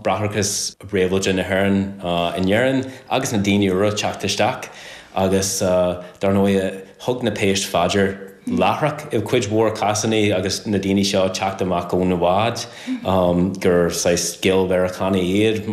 Bráithreachas Réabhlóide na hÉireann in Éirinn agus na daoine úra teacht isteach agus dar ndóigh thug na péist fá dear láithreach i gcuid mhór cásanna agus na daoine seo teacht amach ó na báid gur saghas Gael-Mheiriceánaigh iad.